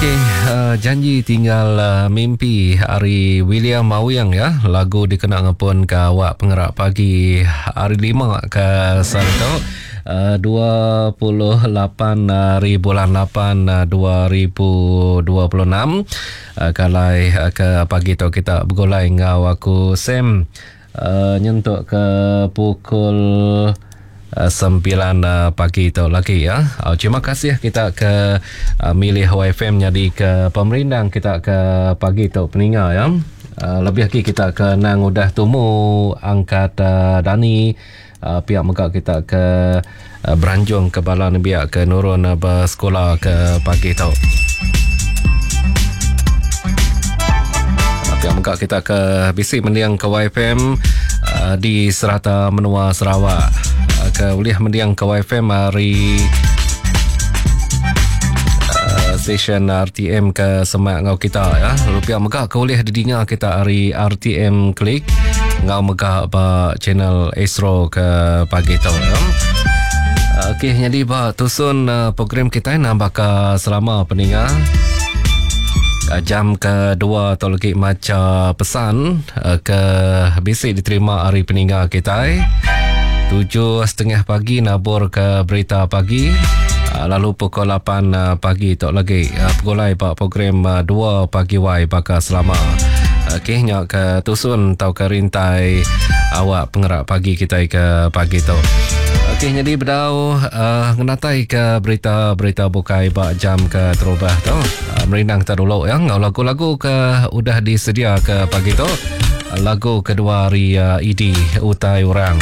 Okey, uh, janji tinggal uh, mimpi ari William Mawing ya, lagu dikena ngepun ke awak pengerak pagi hari lima ke sehari tu. Uh, 28 hari bulan 8 2026 uh, kalai uh, ke pagi tu kita begulai enggau aku Sam uh, nyentuk ke pukul 9 pagi tu lagi ya. Terima kasih kita ke milih YFM nyadi ke pemerindang kita ke pagi tu peninga ya. Lebih lagi kita ke nang udah tumu angkat dani pia mega kita ke beranjung ke bala nembiak ke nurun besekula ke pagi tu. Pia mega kita ke bisi mending ke YFM di serata menua Sarawak ke ulih mending ke YFM hari stesen RTM ke semak enggau kita ya. Lalu pia mega ke ulih didinga kita hari RTM Klik enggau mega ba channel Astro ke pagi tu ya. Okey, jadi ba tusun program kita nambah ke selama peninga jam kedua tu lagi maca pesan ke bisi diterima hari peninga kita. 7.30 pagi nabur ke berita pagi lalu pukul 8 pagi tu lagi pegulai ba program 2 pagi Y baka selama. Okey, nya ke tusun atau ke rintai awak pengerak pagi kita ke pagi tu. Okey, jadi bedau uh, ngenatai ke berita-berita bukai ba jam ke terubah tu. Merindang kita dulu ya ngau lagu-lagu ke udah disedia ke pagi tu. Lagu kedua hari uh, ED Utai Orang.